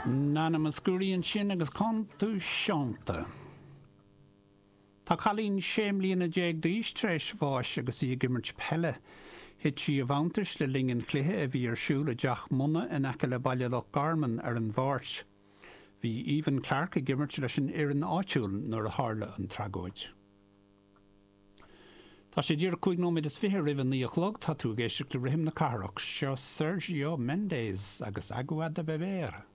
Nana Mouskouri ansin agus Quand tu chantes. Tá cailín 16 mbliana d'aois tar éis bháis agus í ag imirt peile. Thit sí i bhfanntais le linn an chluiche a bhí ar siúl i dTeach Munna in aice le Baile Loch Garman ar an Mháirt. Bhí Aoibheann Clarke ag imirt leis an fhoireann áitiúil nuair a tharla an tragóid. Tá sé díreach 25 nóiméad roimh a 9 a chlog, tá tú ag éisteacht le Rithim na Cathrach. Seo Sergio Mendes agus Agua de Beber.